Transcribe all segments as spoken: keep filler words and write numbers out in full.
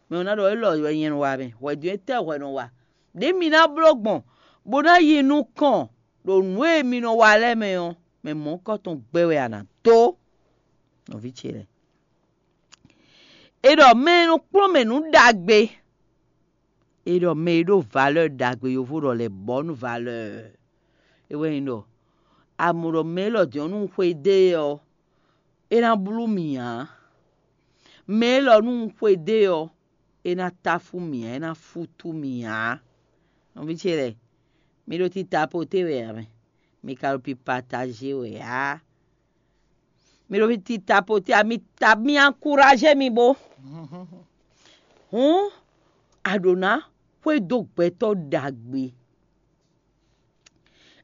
Mɛ ɔ́ ná ɖɔ élɔ́ wɛ nyɛ nɔ wa mɛ, hwɛ̌dó étɛ́ hwɛ nɔ wa? Ɖě mi ná bló gbɔn, bó ná yi nukɔn ɖo nǔ e mi nɔ wa lɛ́ɛ mɛ ɔ́, mɛ mɔ̌hunkɔtɔn gbɛ́ wɛ a nǎ dó. Nɔví ce lɛ́ɛ, è ɖɔ mɛ e nɔ kplɔ́n mɛ nǔ ɖagbe, è ɖɔ mɛ e ɖó valeur ɖagbe, yovo ɖɔ lɛ bɔ̌ nú valeur. É wɛ nyí ɖɔ a mɔ ɖɔ mɛ élɔ́ din ɔ́, nú un xwedó e ɔ́, é ná blú mì ǎ. Mɛ élɔ́ nú un xwedó e ɔ́, é ná táfú mì ǎ, é ná fútú mì ǎ. Nɔví ce lɛ́ɛ, mi ɖo tita poté wɛ ǎ mɛ, mi ka ɖo pi pataje wɛ ǎ. Mi ɖo tita poté ǎ, mi ta mi ankuraje mi bó. Hǔn a ɖǒ ná xwedó gbɛtɔ́ ɖagbe.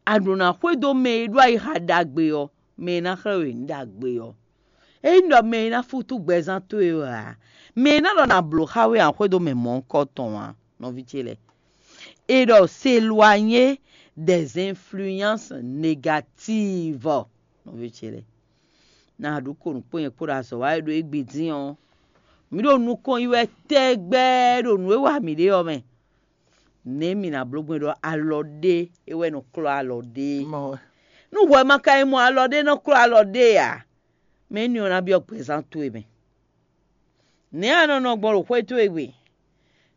A ɖǒ ná xwedó mɛ e ɖó ayixa ɖagbe ɔ́, mɛ e ná xlɛ́ we nǔ ɖagbe ɔ́. Ényí ɖɔ mɛ e ná fútú gbɛzán towe wɛ ǎ, mɛ e ná ɖɔ nǎ bló xá we ǎ, xwedó mɛ mɔ̌hunkɔtɔn ǎ, nɔví ce lɛ́ɛ. È ɖɔ s'éloigner des influences négatives, nɔví ce lɛ́ɛ. Nǎ ɖu ko nǔ kpó nyɛ kpó ɖo azɔ̌ wa e ɖo égbé dín ɔ́, mǐ ɖo nukɔn yi wɛ tɛgbɛ ɖo nǔ e wa mǐ ɖe ɔ́ mɛ. Nɛ̌ mǐ ná bló gbɔn ɖɔ alɔ ɖé é wɛ nɔ klɔ́ alɔ ɖé? Nú hwɛ ma ka yi mɔ alɔ ɖé nɔ klɔ́ alɔ ɖé ǎ, mɛ énɛ́ ɔ́ ná byɔ́ gbɛzán towe mɛ. Nɛ̌ a nɔ nɔ gbɔn ɖo xwé towe gbe?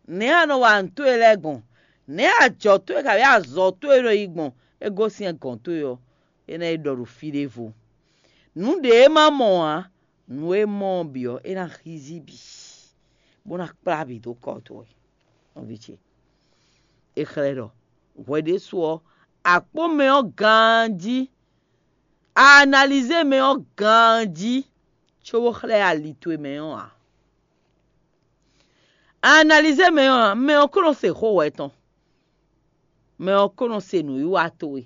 Nɛ̌ a nɔ wa nǔ towe lɛ́ɛ gbɔn? Nɛ̌ ajɔ̌ towe kabǐ azɔ̌ towe nɔ yi gbɔn? É gosín gɔ̌n towe ɔ́, é ná yi ɖɔ ɖo fí ɖěvo. Nǔ ɖě e ma mɔ ǎ, nǔ e mɔ ɔ́ bǐ ɔ́, é ná hízí bǐ, bó ná kplá bǐ dó kɔ towe. Nɔví ce, è xlɛ́ ɖɔ hwɛ ɖésú ɔ́, a kpɔ́n mɛ ɔ́ ganjí, a analizé mɛ ɔ́ ganjí, cóbó xlɛ́ ali towe mɛ ɔ́ ǎ. A analizé mɛ ɔ́ ǎ, mɛ ɔ́ ko nɔ se xó hwɛ tɔn, mɛ ɔ́ ko nɔ se nǔwiwa towe,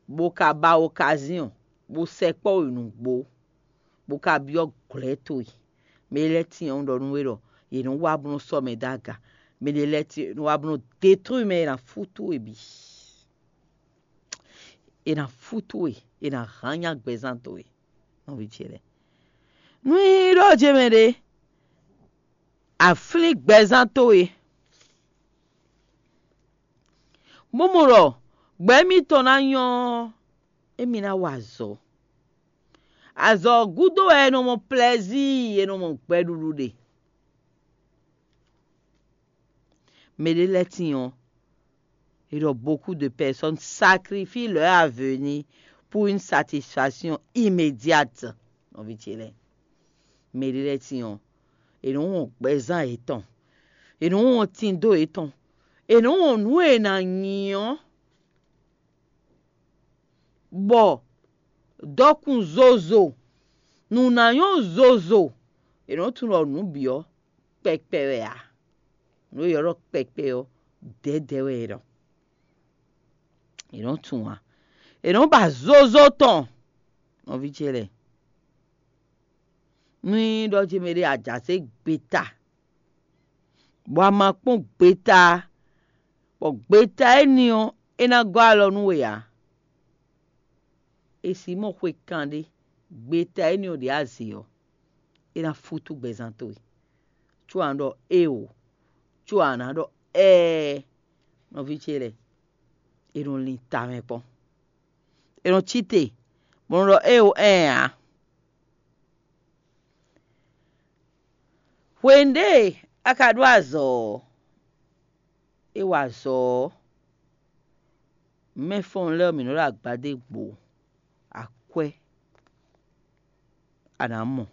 bó ka ba okazíɔn, bó sɛkpɔ́ we nǔgbó, bó ka byɔ́ glɔ̌ towe. Mɛ lɛ́ɛ tíin ɔ́, un ɖɔ nú we ɖɔ yě nɔ wá bó nɔ́ sɔ́ mɛ dó aga. Mɛ ɖé lɛ́ɛ tíin nɔ wá bó nɔ́ detúwi mɛ e ná fútú we bǐ. È nǎ fútú we, è nǎ hán nyá gbɛzán towe, nɔví ce lɛ́ɛ. Nú nyí ɖɔ jɛ mɛ ɖé, a flín gbɛzán towe, bó mɔ ɖɔ gbɛ mitɔn ná nyɔ́ ɔ́, émí ná wa azɔ̌. Azɔ̌ ɔ́ gúdo wɛ è nɔ mɔ plɛzíi, è nɔ mɔ gbɛɖuɖu ɖe. Mɛ ɖé lɛ́ɛ tíin ɔ́, è ɖɔ beaucoup de personnes sacrifient leur avenir pour une satisfaction immédiate. Nɔví ce lɛ́ɛ, mɛ ɖé lɛ́ɛ tíin ɔ́, è nɔ wɔn gbɛzán yětɔn, è nɔ wɔn tindo yětɔn, è nɔ wɔn nǔ e è nǎ nyi ɔ́, bɔ dɔkun zozo, nǔ ná nyɔ́ zozo, è nɔ tunwun ɖɔ nǔ bǐ ɔ́ kpɛkpɛ wɛ ǎ. Nǔ e è ylɔ́ ɖɔ kpɛkpɛ ɔ́, dɛ̌dɛ̌ wɛ è ɖɔ. È nɔ tunwun ǎ. È nɔ ba zozo tɔn, nɔví ce lɛ́ɛ. Nú nyí ɖɔ ce mɛ ɖé a jǎ zé gbeta, bɔ a ma kpɔ́n gbeta, bɔ gbeta énɛ́ ɔ́, é ná gɔ́ alɔ nú we ǎ. È sǐ mɔ xwe kanɖé, gbeta énɛ́ ɔ́ ɖě a zě ɔ́, é ná fútú gbɛzán towe. Có a nǎ ɖɔ éeǒ, có a nǎ ɖɔ ɛɛ, nɔví ce lɛ́ɛ, è nɔ lin tamɛ kpɔ́n. È nɔ cí te, bɔ nɔ ɖɔ éeǒ ɛɛ ǎ. Hwenu ɖé a ka ɖó azɔ̌ ɔ́, é wa azɔ̌ ɔ́, mɛfɔ́n lɛ́ɛ ɔ́, mǐ nɔ ɖo agbadé gbo akwɛ́ a nǎ mɔ.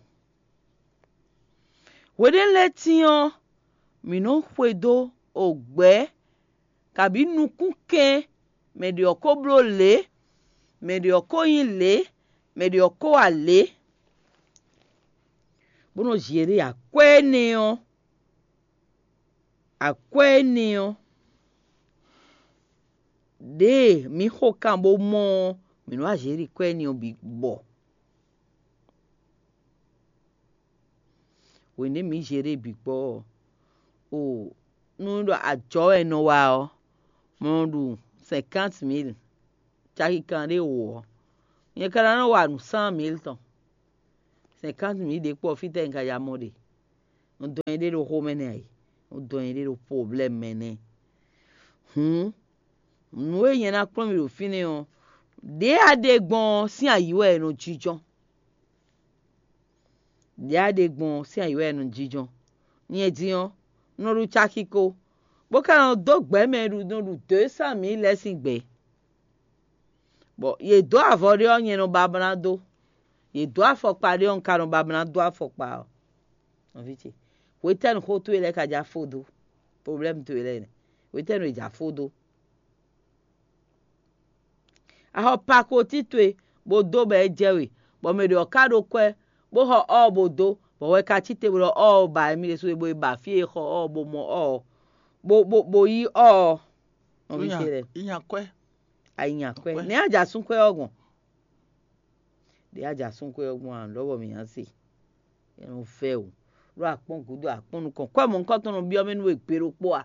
Hweɖénu lɛ́ɛ tíin ɔ́, mǐ nɔ́ xwedó ogbɛ̌ kabǐ nukúnkɛn, mɛ ɖě ɔ́ ko bló lě, mɛ ɖě ɔ́ ko nyí lě, mɛ ɖě ɔ́ ko wa lě, bó nɔ́ zě ɖe akwɛ́ énɛ́ ɔ́, akwɛ́ énɛ́ ɔ́, ɖěe mǐ xo kan bó mɔ ɔ́, mǐ nɔ́ wá zě ɖi kwɛ́ énɛ́ ɔ́ bǐ gbɔ. Hwenu e mǐ zě ɖe bǐ gbɔ ɔ́, o nú ɖɔ ajɔ̌ wɛ è nɔ wa ɔ́, mɔ ɖu cinquante mille, caki kanɖé wǒ ɔ́, nyɛ ka ná nɔ wa nǔ cent mille tɔn. Cinquante mille ɖě kpɔ fítɛ́ un ka ya mɔ ɖe? Un dɔn nyi ɖé ɖo xomɛ nɛ́ ǎ é. Un dɔn nyi ɖé ɖo problème mɛ nɛ́. Hǔn, nǔ e nyɛ ná kplɔ́n mi ɖo fínɛ́ ɔ́, ɖě a ɖe gbɔn ɔ́ sín ayǐ wɛ è nɔ jínjɔ́n. Ɖě a ɖe gbɔn ɔ́ sín ayǐ wɛ è nɔ jínjɔ́n. Nyɛ din ɔ́, un nɔ ɖu caki ko, bó ka nɔ dó gbɛ̌ mɛ e ɖu nɔ ɖu deux cent mille lɛ́ɛ sín gbɛ. Bɔ yě dó avɔ ɖé ɔ́, nyɛ nɔ ba bó ná dó. Yě dó afɔkpa ɖé ɔ́, un ka nɔ ba bó ná dó afɔkpa ɔ́. Nɔví ce, hwetɛ́nu xó towe lɛ́ɛ ka ja fó dó? Problème towe lɛ́ɛ nɛ́. Hwetɛ́nu è ja fó dó? A xɔ pakoti towe bó dó bɔ é jɛ we, bɔ mɛ ɖě ɔ́ ka ɖó kwɛ́, bó xɔ ɔ́ bó dó, bɔ hwɛ ka cí te bó ɖɔ ɔ́ ba émí ɖésú é, bó yi ba fí e xɔ ɔ́ bó mɔ ɔ́, bó bó bó yí ɔ́. Nɔví ce lɛ́ɛ, Inya kwɛ́. A nyi akwɛ́. Nɛ̌ a ja sún kwɛ́ ɔ́ gbɔn? Ɖě a ja sún kwɛ́ ɔ́ gbɔn a, lɔ̌ bɔ mǐ ná se. É nɔ vɛ́ o. Ɖó a kpɔ́n gǔdo, a kpɔ́n nukɔn, kwɛ́ mɔ̌hunkɔtɔn nɔ byɔ́ mɛ nú we gbe ɖokpó a?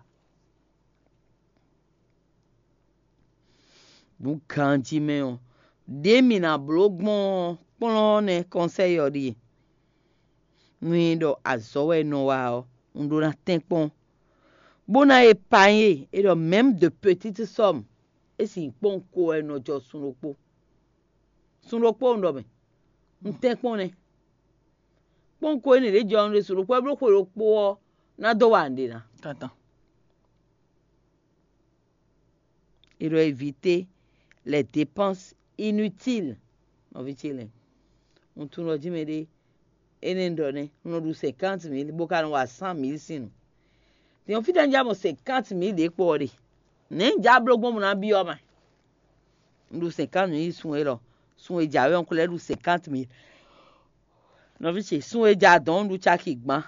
Nǔ ganjí mɛ ɔ́, ɖě mǐ ná bló gbɔn ɔ́, kplɔ́n ɔ́ nɛ́ kɔnsɛ́yi ɔ́ ɖíe. Nú nyí ɖɔ azɔ̌ wɛ un nɔ wa ɔ́, un ɖó ná tɛ́nkpɔ́n, bó ná épargne é ɖɔ même de petites sommes, é sin kpɔ́n ko wɛ un nɔ jɔ sun ɖokpó. Sun ɖokpó un ɖɔ mɛ, un tɛ́nkpɔ́n nɛ́. Kpɔ́n ko énɛ́ ɖě jɔ un ɖe sun ɖokpó wɛ bló xwe ɖokpó ɔ́ ná dó wa nǔɖé ná. Dandan. Il doit éviter les dépenses inutiles. Nɔví ce lɛ́ɛ, un tunwun ɖɔ jí mɛ ɖé énɛ́ un ɖɔ nɛ́, un nɔ ɖu cinquante mille bó ka nɔ wa cent mille sín nǔ. Din ɔ́, fítɛ́ un já mɔ cinquante mille ɖě kpɔ ɔ́ ɖe? Nɛ̌ un já bló gbɔn bó ná byɔ́ ma? Un ɖu cinquante mille sun élɔ́, sun e jǎwe ɔ́, un ko lɛ́ ɖu cinquante mille. Nɔví ce, sun e ja dɔ̌n un ɖu caki gbán.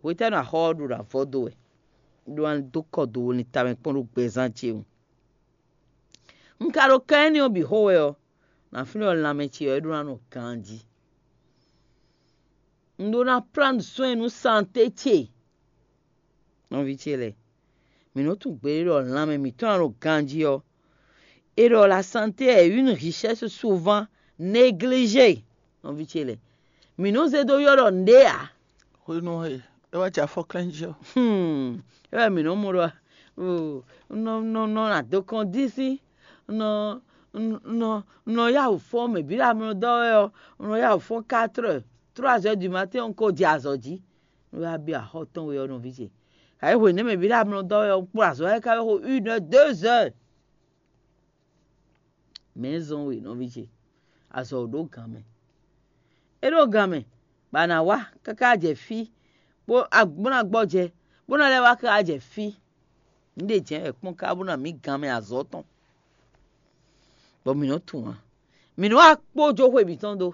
Hwetɛ́nu axɔ ɔ́ ɖo ná vɔ dó wɛ? Ɖó ná dó kɔ do wo lin tamɛ kpɔ́n ɖó gbɛzán ce wú. Un ka ɖo kan énɛ́ ɔ́ bǐ xo wɛ ɔ́, nǎ flín ɔ́ lanmɛ ce ɔ́ é ɖó ná nɔ ganjí. Un ɖó ná plán soin nú santé ce. Nɔví ce lɛ́ɛ, mǐ nɔ tunwun gbeɖé ɖɔ lanmɛ mǐtɔn ná nɔ ganjí ɔ́, é ɖɔ la santé est une richesse souvent négligée. Nɔví ce lɛ́ɛ, mǐ nɔ zé dó ylɔ́ ɖɔ nǔɖé ǎ. Hwenu e é wá jɛ afɔklɛ́n jí ɔ́, Hmm, é wɛ mǐ nɔ mɔ ɖɔ, oh, un nɔ un nɔ un nɔ adokɔn dín sín, un nɔ un nɔ un nɔ yá wǔ fɔ́n mɛ bǐ ɖo amlɔ dɔ́ wɛ ɔ́, un nɔ yá wǔ fɔ́n quatre heures, trois heures du matin un ko jɛ azɔ̌ jí. Un wá byɔ́ axɔ́ tɔn we ɔ́ nɔví ce. Ayǐ hwenu mɛ bǐ ɖo amlɔ dɔ́ wɛ ɔ́, un kplɔ́n azɔ̌ wɛ ká wɛ xo une heure, deux heures. Mɛ̌ zɔn we nɔví ce, azɔ̌ ɔ́ ɖó gǎn mɛ. É ɖó gǎn mɛ, bɔ a nǎ wá káká jɛ fí, bó a- bó ná gbɔjɛ, bó ná lɛ́ wá káká jɛ fí. Nǔ ɖe jɛ̌n wɛ kpɔ́n ká bó ná mǐ gǎn mɛ azɔ̌ tɔn, bɔ mǐ nɔ́ tunwun ǎ. Mǐ nɔ́ wá kpó jó xwe mǐtɔn dó.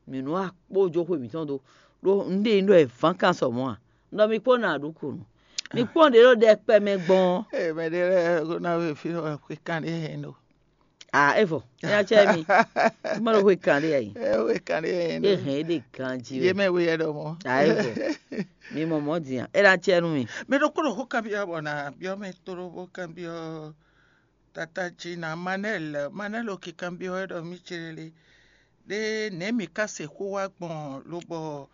Mǐ nɔ́ wá kpó jó xwe mǐtɔn dó, ɖó nǔ ɖe nyí ɖɔ è vǎn kan sɔ mɔ̌ ǎ. Un ɖɔ mi kpó nɔ aɖǔkǔnu. Mi kpɔ́n ɖě ɖo ɖɛkpɛ mɛ gbɔn ɔ́. Ee, mɛ ɖé lɛ́ɛ ko ná wé fí xwe kan ɖé hɛn ɖo. À é vɔ, é ná cɛ mi. Má ɖo xwe kan ɖé ayi. Ee, xwe kan ɖé hɛn É ɖo. hɛn é ɖe ganjí Yé wɛ. mɛ wé yɛ ɖɔ mɔ. À é vɔ. Mi mɔ mɔ̌ din a? É ná cɛ nú mi. Mɛ ɖokpó ɖo xó kanbyɔ́ bɔ nǎ byɔ́ mɛ tlóló bó kanbyɔ́ tata jí ná Manɛ́l. Manɛ́l o ki kanbyɔ́ wɛ ɖɔ mí ce lélé. Ɖé nɛ̌ mǐ ka se xó wá gbɔn lobɔ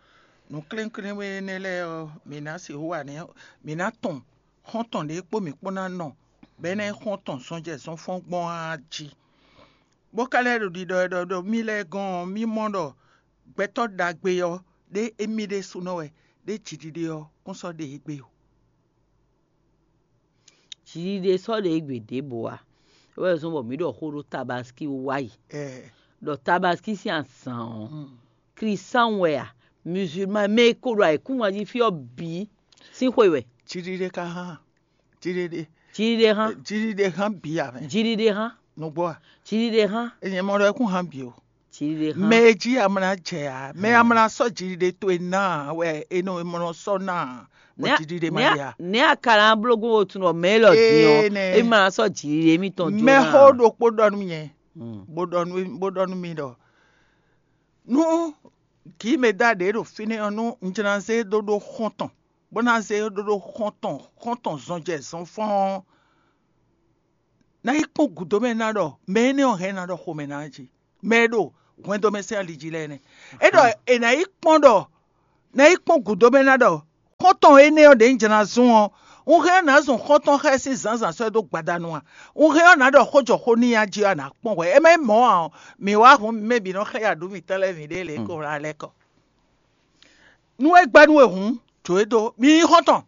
nǔklénklénwé énɛ́ lɛ́ɛ ɔ́, mǐ ná sixú wa nɛ́ mǐ ná tɔn xɔ́ntɔn ɖě kpó mǐ kpó ná nɔ, bɔ é ná nyí xɔ́ntɔn zɔnjɛ zɔnfɔ́n gbɔn á jí. Bó ka lɛ́ ɖo ɖiɖɔ wɛ ɖɔ ɖo mí lɛ́ɛ gɔ́n ɔ́, mí mɔ ɖɔ gbɛtɔ́ ɖagbe ɔ́, ɖé émí ɖésúnɔ wɛ, ɖé jiɖiɖe ɔ́ kún sɔ́ ɖe égbé o. Jiɖiɖe sɔ́ ɖe égbé ɖěbǔ a? É wɛ zɔ́n bɔ mǐ ɖɔ xó ɖó Tabaski wá yi. Ɛɛ, Ɖɔ Tabaski sín azǎn ɔ́, mm. Klísáun wɛ a? Musulman mɛ e ko ɖo ayǐkúngban jí fí ɔ́ bǐ sín xwe wɛ. Jiɖiɖe ka hán. Jiɖiɖe. Jiɖiɖe hán. Jiɖiɖe hán bǐ a mɛ. Jiɖiɖe hán. Nǔgbó a? Jiɖiɖe hán. Enyɛ mɔ ɖɔ é kún hán bǐ o. Jiɖiɖe hán. Mɛ e jí amla jɛ a, mɛ amla sɔ́ jiɖiɖe towe ná a wɛ e nɔ e mɔ nɔ sɔ́ ná a, bɔ jiɖiɖe ma ɖe a. Nɛ̌ a ka ná bló gbɔn wo tunɔ mɛ élɔ́ din ɔ́? Ee, nɛ. É ma ná sɔ́ jiɖiɖe émítɔn jó Mɛ ná xó a? Ɖokpó ɖɔ nú nyɛ, Mm. bó ɖɔ nú bó ɖɔ nú mi ɖɔ nú gǐ mɛ da ɖě ɖo fínɛ́ ɔ́, nú un jlá zé ɖó ɖó xɔ́ntɔn, bó ná zé ɖó ɖó xɔ́ntɔn xɔ́ntɔn zɔnjɛ zɔnfɔ́n ɔ́, ná yi kpɔ́n gǔdo mɛ ná ɖɔ mɛ énɛ́ ɔ́ hɛn ná ɖɔ xomɛ ná jí. Mɛ e ɖo hwɛndo mɛ sín ali jí lɛ́ɛ nɛ́. É ɖɔ è nǎ yi kpɔ́n ɖɔ nɛ́ yi kpɔ́n gǔdo mɛ ná ɖɔ xɔ́ntɔn énɛ́ ɔ́ ɖě un jlá zɔ́n ɔ́, un hɛn ɔ́ nǎ zɔn xɔ́ntɔn xá ɛ sín zǎnzǎn sɔ́ ɛ dó gbadanu a? Un hɛn ɔ́ nǎ ɖɔ xó jɔ xó n'i a jí ɔ́, a nǎ kpɔ́n hwɛ? É má nyí mɔ̌ ǎ ɔ́, mǐ wá hun mɛ bǐ nɔ xlɛ́ aɖǔ mǐtɔn lɛ́ɛ mǐɖée lě e ko wlá lɛ́ɛ kɔ. Nú é gbɛ́ nú we hǔn, jǒ e dó; mi nyí xɔ́ntɔn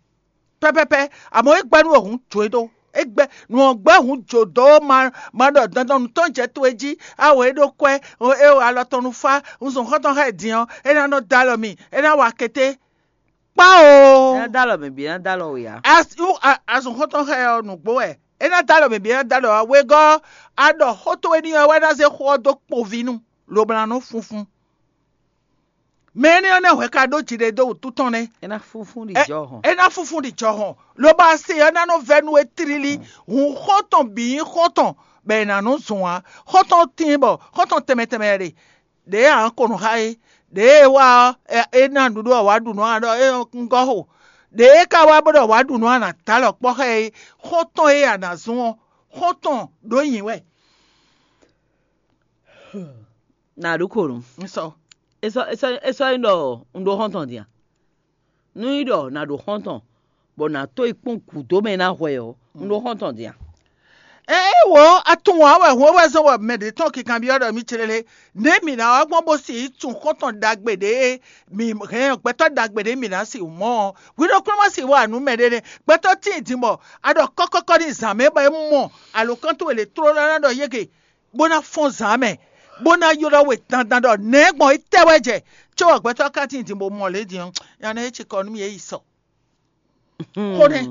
pɛ́pɛ́pɛ́; amɔ̌ é gbɛ́ nú we hǔn, jǒ e dó. É gbɛ́ nǔ ɔ́ gbɛ́ hǔn jǒ dó ma ma ɖɔ dandan nǔ tɔn jɛ towe jí. Awo é ɖó kwɛ́, é wa alɔ tɔn nú fá, un zɔn xɔ́ntɔn xá ɛ din ɔ́, é ná nɔ dó alɔ mi, é ná wa kété. Kpá o! É ná dó alɔ mɛ bǐ, é ná dó alɔ we ǎ. Azɔn xɔ́ntɔn xá ɛ ɔ́ nǔgbó wɛ. É ná dó alɔ mɛ bǐ, é ná dó alɔ wegɔ́. A ɖɔ xó towe n'i ɔ́ wɛ ná zé xó ɔ́ dó kpoví nú, lobo ná nɔ funfun. Mɛ énɛ́ ɔ́ nɛ́ hwɛ ka ɖó jiɖe dó wǔtu tɔn nɛ́. É ná fúnfún ɖi jɔhɔn. É ná fúnfún ɖi jɔhɔn, lobo asi ɔ́ ná nɔ vɛ́ nú we tlílí. Hun xɔ́ntɔn bǐ nyí xɔ́ntɔn, bɔ è nǎ nɔ zɔn ǎ. Xɔ́ntɔn tíin bɔ xɔ́ntɔn tɛnmɛ tɛnmɛ wɛ ɖe. Ɖěe ǎ ko nɔ xá é, ɖěe é wá ɔ́, é ná nǔɖuɖu ɔ́ wǎ ɖu nǔ a ɖɔ é ŋgɔ́ xo. Ɖěe é ka wá bó ɖɔ wǎ ɖu nǔ a nǎ dó alɔ kpɔ́ xá ɛ é, xɔ́ntɔn e a nǎ zɔ́n ɔ́, xɔ́ntɔn ɖǒ nyi wɛ. Nǎ ɖu kǒ nú. Un sɔ. É sɔ́ é sɔ́ é sɔ́ nyí ɖɔ un ɖó xɔ́ntɔn din a? Nú nyí ɖɔ nǎ ɖo xɔ́ntɔn, bɔ nǎ tó yi kpɔ́n gǔdo mɛ ná hwɛ ɔ́, un ɖó xɔ́ntɔn din a? Ée wǒ, a tunwun ǎ wɛ hwɛ́nhwɛ́ zɔn wɛ mɛ ɖě tɔn kinkanbyɔ́ ɖɔ mì céɖéɖé, nɛ̌ mǐ ná wá gbɔn bó si yi tunwun xɔ́ntɔn ɖagbe ɖě e mǐ hɛn ɔ́, gbɛtɔ́ ɖagbe ɖě mǐ ná si mɔ ɔ́? Hwi ɖokpónɔ ma si wa nǔ mɛ ɖé nɛ́. Gbɛtɔ́ tíin din bɔ a ɖɔ kɔ́kɔ́kɔ́ n'i zǎn mɛ bɔ é mɔ alǒkan towe lě tlóló ná ɖɔ yége, bó ná fɔ́n zǎn mɛ, bó ná ylɔ́ we dandan ɖɔ nɛ̌ gbɔn é tɛ wɛ jɛ, cóbɔ gbɛtɔ́ ka tíin din bó mɔ lě din ɔ́, nya nɛ́ é ci kɔ nú mì é yi sɔ. Xó nɛ́.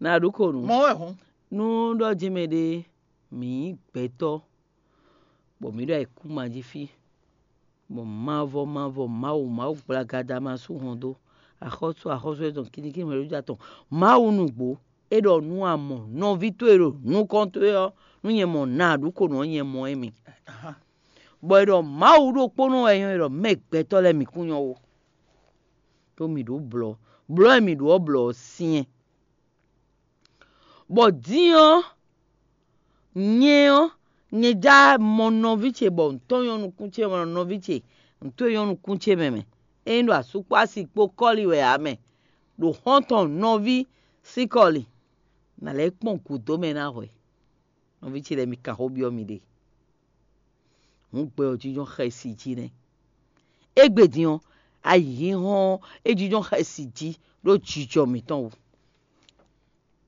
Nǎ ɖu kǒ nú. Mɔ̌ wɛ hǔn. Nú ɖɔ jí mɛ ɖé mǐ nyí gbɛtɔ́, bɔ mǐ ɖo ayǐkúngban jí fí, bɔ mavɔ mavɔ Mawu Mawu gblagada ma sú hɔn dó, axɔ́sú axɔ́sú e tɔn kinikíni mɛ ɖó jɛ atɔn, Mawu nǔgbó, é ɖɔ nú a mɔ nɔví towe ɖo nukɔn towe ɔ́, nú nyɛ mɔ nǎ ɖu kǒ nú ɔ́, nyɛ mɔ émí. Bɔ è ɖɔ Mawu ɖokpónɔ wɛ nyɔ́, è ɖɔ mɛ gbɛtɔ́ lɛ́ɛ mǐ kún nyɔ́ ó. Ɖó mǐ ɖǒ blɔ̌, blɔ̌ e mǐ ɖǒ ɔ́ blɔ̌ ɔ́ syɛ́n. Bɔ din ɔ́, nyɛ ɔ́, nyɛ já mɔ nɔví ce bɔ ntɔ́ nyɔ́ nukún ce mɔ nɔví ce ntɔ́ nyɔ́ nukún ce mɛ mɛ. Ényí ɖo asú kpó asi kpó kɔ́li wɛ ǎ mɛ, ɖo xɔ́ntɔn nɔví sín kɔ́li, nǎ lɛ́ kpɔ́n gǔdo mɛ ná hwɛ. Nɔví ce lɛ́ɛ, mi kan xó byɔ́ miɖée. Hǔn gbɛ ɔ́ jínjɔ́n xɛsi jí nɛ́. Égbé din ɔ́, ayǐhínhɔ́n ɔ́, é jínjɔ́n xɛsi jí ɖó jijɔ mǐtɔn wú.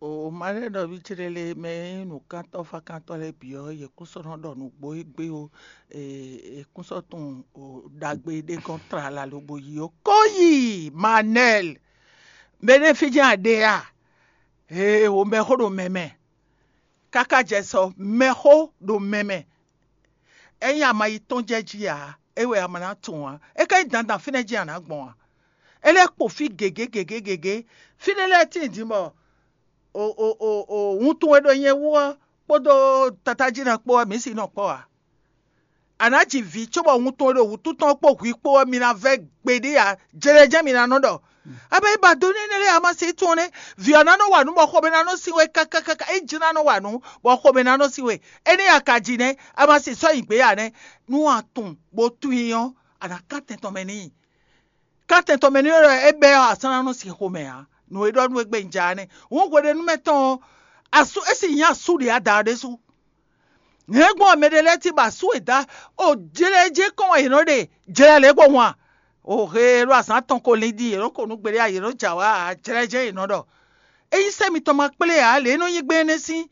O ma lɛ́ nɔví ce lɛ́ɛ lé mɛ e nyí nǔkántɔ́ fákántɔ́ lɛ́ɛ bǐ ɔ́, yě kún sɔ́ nɔ ɖɔ nǔgbó égbé ó. Yě kún sɔ́ tunwun ɖagbe ɖé gɔ́n tlala lobo yi ó. Kó yi Manɛl, mɛ nɛ́ fí jɛ́n a ɖe a? Ee, wǒ mɛxó ɖo mɛ mɛ. Káká jɛ sɔ mɛxó ɖo mɛ mɛ. Ényí a ma yi tɔ́n jɛ jí ǎ, é wɛ a ma ná tunwun ǎ. É ka nyí dandan fínɛ́ jí a nǎ gbɔn ǎ. É lɛ́ kpo fí gěgé gěgé gěgé. Fínɛ́ lɛ́ɛ tíin din bɔ o o o o wuntun e ɖo nyɛ wú ɔ́ kpódó tatájí ná kpó ɔ́, mǐ si nɔ kpɔ́ ǎ. A nǎ ji vǐ cóbɔ wuntun e ɖo wǔtu tɔn kpó hwi kpó ɔ́, mi ná vɛ́ gbeɖé ǎ. Jlɛjɛ́ mi ná nɔ ɖɔ. Abɛ yi ba do nú énɛ́ lɛ́ɛ a ma se tɔn nɛ́. Vǐ ɔ́ ná nɔ wa nǔ bɔ xomɛ ná nɔ sin we kákákáká. É jí ná nɔ wa nǔ bɔ xomɛ ná nɔ sin we. Énɛ́ a ka ji nɛ́, a ma si sɔ́ nyi gbě ǎ nɛ́. Nú a tunwun bó tunwun i ɔ́, a nǎ kán tɛn tɔn mɛ n'i. Kán tɛn tɔn mɛ n'i ɔ́, é bɛ́ ɔ́, a sɔ́ ná nɔ sin xomɛ ǎ. Nǔ e ɖɔ nú we gbé un ja ɔ́ nɛ́. Hǔn hweɖénúmɛ tɔn ɔ́, asú é sì nyí asú ɖě ada ɔ́ ɖésú. Hɛ̌ngbɔn mɛ ɖé lɛ́ɛ cí bɔ asú e dá o jlɛ́ jɛ kɔn wɛ yě nɔ ɖe jlɛ́ lě kpó hun a? O he e ɖo azǎn tɔn ko lin ɖi yě nɔ ko nú gbeɖé a yě nɔ jɛ awǎ ǎ, jlɛ́ jɛ yě nɔ ɖɔ. Ényí sɛ́ mitɔn ma kplé ǎ, lě e nɔ nyí gbé énɛ́ sín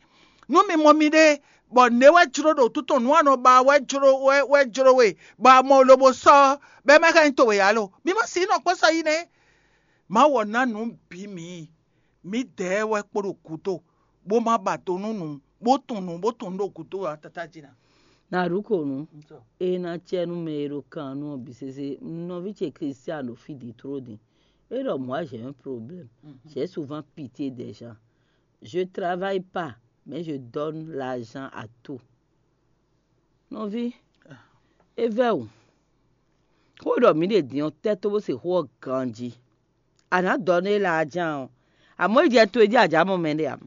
nú mi mɔ miɖée, bɔ nɛ̌ wɛ jló ɖo wútu tɔn nǔ a nɔ ba wɛ jló wɛ wɛ jló we, bɔ a mɔ lobo sɔ́ bɔ é ma ka nyí towe ǎ lo? Mi ma si nɔ kpɔ́ sɔ́ yi nɛ́. Mawu ɔ́ ná nǔ bǐ mǐ. Mǐdɛɛ wɛ kpo ɖo gǔdo, bó ma ba do nú nǔ, bó tunwun nǔ, bó tunwun nǔ ɖo gǔdo ǎ, Tata jí ná. Nǎ ɖu kǒ nú é ná cɛ nú mɛ e ɖo kan nú ɔ́ bǐ sésé. Nɔví ce Klístiánu ɖo fí din tló din. É ɖɔ: moi, j'ai un problème. J'ai souvent pitié des gens. Je travaille pas, mais je donne l'argent à tout. Nɔví, é vɛ́ wǔ. Xó e ɖɔ mǐ ɖe din ɔ́, tɛ́ tó bó se xó ɔ́ ganjí. A nǎ dɔ nú é lɛ a ján ɔ́, amɔ̌ yi jɛ towe jí a jǎ mɔ mɛɖé ǎ.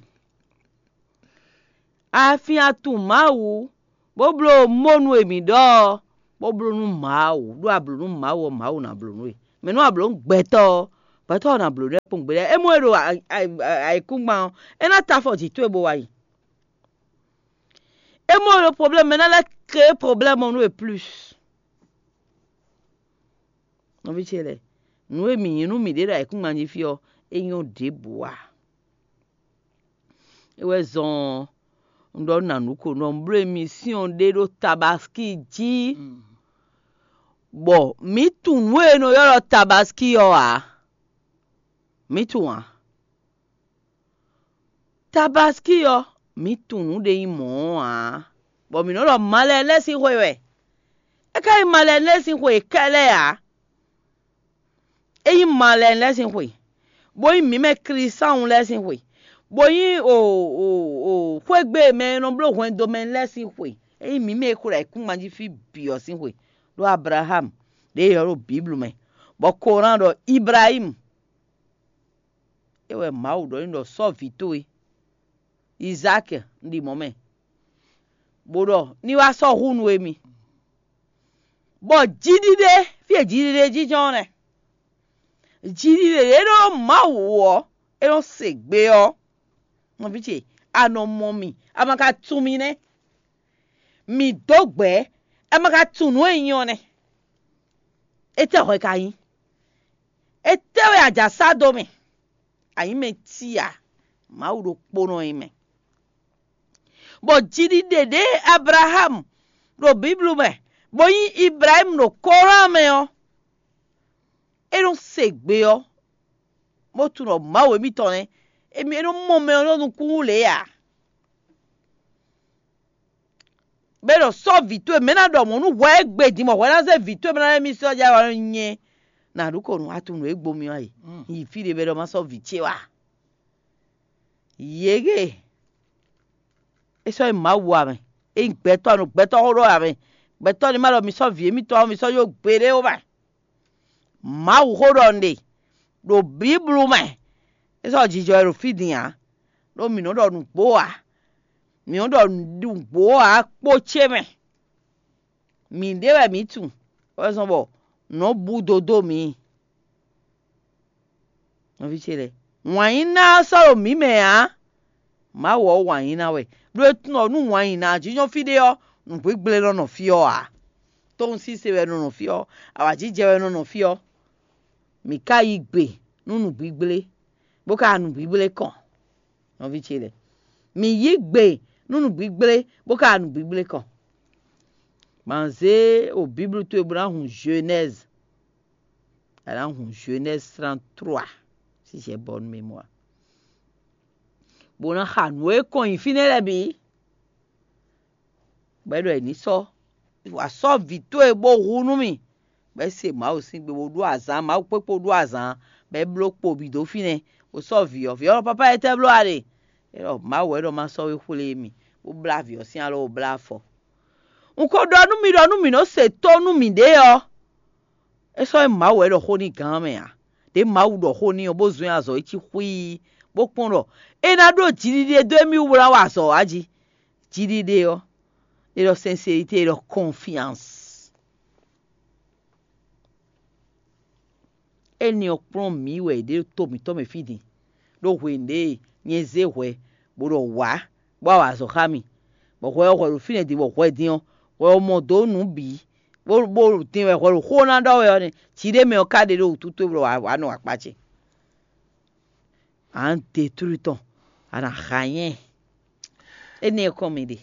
A fin atun Mawu, bó bló mónú e mǐ ɖɔ ɔ́, bó bló nú Mawu, ɖó a blǒ nú Mawu ɔ́, Mawu ná bló nú we. Mɛ nú a blǒ nú gbɛtɔ́ ɔ́, gbɛtɔ́ ɔ́ ná blǒ nú ɛ kpɔ́n gbeɖé. É mɔ e ɖo ayǐkúngban ɔ́, é ná ta afɔ jǐ towe bó wá yi. É mɔ e ɖo problème mɛ ná lɛ́ créé problème ɔ́ nú we plus. Nɔví ce lɛ́ɛ, nǔ e mǐ nyí nú mǐɖée ɖo ayǐkúngban jí fí ɔ́, é nyɔ́ ɖěbǔ ǎ. É wɛ zɔn ɔ́, un ɖɔ nú nǎnú ko ɖɔ un bló emisíɔn ɖé ɖó Tabaski jí, bɔ mǐ tunwun nǔ e è nɔ ylɔ́ ɖɔ Tabaski ɔ́ ǎ. Mǐ tunwun ǎ. Tabaski ɔ́, mǐ tunwun nǔ ɖé nyí mɔ̌ ɔ́ ǎ, bɔ mǐ nɔ ɖɔ malɛnu lɛ́ɛ sín xwe wɛ. É ka nyí malɛnu lɛ́ɛ sín xwe kɛ́ɖɛ́ ǎ. É nyí malɛnu lɛ́ɛ sín xwe, bó nyí mǐ mɛ Klísáun lɛ́ɛ sín xwe, bó nyí o o o xwégbé e mɛ e nɔ bló hwɛndo mɛ lɛ́ɛ sín xwe. É nyí mǐ mɛ e xwe ɖo ayǐkúngban jí fí bǐ ɔ́ sín xwe, ɖó Ablaxámu ɖě è ylɔ́ ɖo Bǐblu mɛ, bɔ Koran ɖɔ Iblayímu. É wɛ Mawu ɖɔ n'i ɖɔ sɔ́ vǐ towe Izáki un ɖi mɔ̌ mɛ, bó ɖɔ ní wá sɔ́ hu nú émí. Bɔ jiɖiɖe, fí e jiɖiɖe jínjɔ́n ɔ́ nɛ́. Jiɖiɖe ɖě ɖó Mawu ɔ́, é nɔ se gbe ɔ́, nɔví ce, a nɔ mɔ mì, a ma ka tunwun mì nɛ́. Mǐ dó gbɛ̌, a ma ka tunwun nǔ e nyí ɔ́ nɛ́. Étɛ́ hwɛ ka nyí? Étɛ́ wɛ a jǎ sá dó mì? A nyǐ mɛ cí ǎ, Mawu ɖokpónɔ nyí mɛ. Bɔ jiɖiɖe ɖě Ablaxámu ɖo Bíblu mɛ, bó nyí Iblayímu ɖo Kóran mɛ ɔ́, é nɔ se gbe ɔ́, bó tunwun ɖɔ Mawu émítɔn nɛ́. Émí é nɔ mɔ mɛ ɔ́ ɖo nukúnnú lě ǎ. Bɔ é ɖɔ sɔ́ vǐ towe mɛ ná ɖɔ mɔ̌ nú hwɛ e gbe din bɔ hwɛ ná zé vǐ towe mɛ ná lɛ́ mì sɔ́ jɛ wá nyɛ nǎ ɖu ko nǔ a tunwun nǔ e gbo mì ɔ́ yi. Yi fí ɖé bɔ é ɖɔ má sɔ́ vǐ ce wá. Yěge é sɔ́ nyí Mawu ǎ mɛ. É nyí gbɛtɔ́ nɔ gbɛtɔ́ xó ɖɔ ǎ mɛ. Gbɛtɔ́ ní ma ɖɔ mi sɔ́ vǐ émítɔn ɔ́, mi sɔ́ yó gbeɖé ó mɛ. Mawu xó ɖɔ un ɖe ɖo Bíblu mɛ. É sɔ́ jijɔ wɛ ɖo fí din ǎ. Ɖó mǐ nɔ ɖɔ nǔgbó ǎ. Mǐ nɔ ɖɔ nǔgbó ǎ kpó ce mɛ. Mǐɖée wɛ mǐ tunwun, wɛ zɔ́n bɔ nǔ nɔ bú dó dó mǐ. Nɔví ce lɛ́ɛ, wǎn yí ná ɔ́ sɔ́ ɖo mǐ mɛ ǎ. Mawu ɔ́ wǎn yí ná wɛ. Ɖó é tunwun ɔ́ nú wǎn yí ná ɔ́ jínjɔ́n fí ɖé ɔ́, nǔgbígblé nɔ nɔ fí ɔ́ ǎ. Tóun síse wɛ nɔ nɔ fí ɔ́, awǎjijɛ wɛ nɔ nɔ fí ɔ́. Mǐ ka yí gbe nú nǔgbígblé, bó ka nǔgbígblé kɔn. Nɔví ce lɛ́ɛ, mǐ yí gbe nú nǔgbígblé, bó ka nǔgbígblé kɔn. Ma zé o Bíblu towe bó ná hun Genèse. A nǎ hun Genèse trente-trois, si j'ai bonne mémoire. Bó ná xa nǔ e kɔn nyi fínɛ́ lɛ́ɛ bǐ. Bɔ é ɖɔ è ní sɔ́, wǎ sɔ́ vǐ towe bó hu nú mì, bɔ é se Mawu sín gbe bó ɖó azǎn, Mawu kpékpó ɖó azǎn, bɔ é bló kpo bǐ dó fínɛ́, bó sɔ́ vǐ ɔ́. Vǐ ɔ́ ɖɔ: "Papá, étɛ́ bló a ɖe?" É ɖɔ: "Mawu wɛ ɖɔ má sɔ́ we xwlé mì, bó blá vǐ ɔ́ sín alɔ, bó blá afɔ." Un ko ɖɔ nú mi ɖɔ nú mǐ nɔ se tó nú mǐɖée ɔ́, é sɔ́ nyí Mawu wɛ ɖɔ xó n'i gán mɛ ǎ. Đě Mawu ɖɔ xó n'i ɔ́, bó zɔ́n ɛ azɔ̌ e cí xwíí, bó kpɔ́n ɖɔ é ná ɖó jiɖiɖe dó émí wú bó ná wa azɔ̌ wá jí. Jiɖiɖe ɔ́, è ɖɔ sincérité, è ɖɔ confiance. Énɛ́ ɔ́ kplɔ́n mǐ wɛ è ɖe ɖo to mǐtɔn mɛ fí din, ɖó hwenu ɖě nyɛ zé hwɛ bó ɖɔ wǎ, bó wa azɔ̌ xá mì, bɔ hwɛ ɔ́ hwɛ ɖo fínɛ́ din, bɔ hwɛ din ɔ́, hwɛ ɔ́ mɔ dó nǔ bǐ, bó bó din wɛ hwɛ ɖo xó ná ɖɔ wɛ ɔ́ nɛ́, jǐ ɖé mɛ ɔ́ ka ɖe ɖó wǔtu towe bó ɖɔ wǎ wǎ nɔ akpá ce. À ń détruire tɔn, à nǎ xa nyɛ. Énɛ́ ɔ́ kɔn mì ɖe.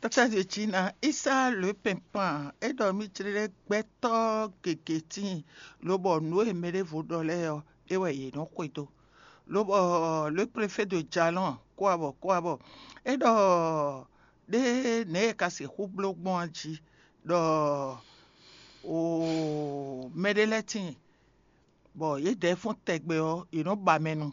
Tata Jejina, Isa le pɛnpan, é ɖɔ mì jlɛ́ gbɛtɔ́ gěgé tíin, lobɔ nǔ e mɛ ɖěvo ɖɔ lɛ́ɛ ɔ́, é wɛ yě nɔ xwedó. Lobɔ le préfet de Jalɔn kó abɔ kó abɔ, é ɖɔ ɖé nɛ̌ è ka sixú bló gbɔn a jí ɖɔ o mɛɖé lɛ́ɛ tíin, bɔ yědɛɛ fɔ́n tɛgbɛ ɔ́, yě nɔ ba mɛ nu.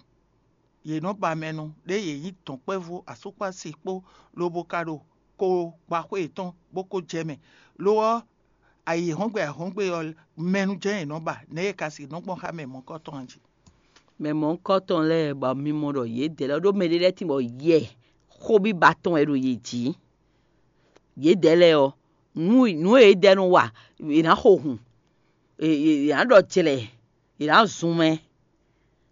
Yě nɔ ba mɛ nu, ɖěe yě nyí dɔ̌nkpɛvú asúkpási kpó, lobo ka ɖo ko gba xwé yětɔn bó ko jɛ mɛ. Lo ɔ́, ayǐhɔ́ngbe ayǐhɔ́ngbe ɔ́, mɛ nu jɛ́n yě nɔ ba, nɛ̌ yě ka sixú nɔ gbɔn xá mɛ mɔ̌hunkɔtɔn ɔ́ jí? Mɛ mɔ̌hunkɔtɔn lɛ́ɛ bɔ mi mɔ ɖɔ yědɛɛ lɛ́ɛ ɖó mɛɖé lɛ́ɛ tíin bɔ yɛ xóbíba tɔn wɛ ɖo yě jí. Yědɛɛ lɛ́ɛ ɔ́, nǔ nǔ e yědɛɛ nɔ wa, è nǎ xo hun. è nǎ ɖɔ jlɛ̌, è nǎ zun mɛ.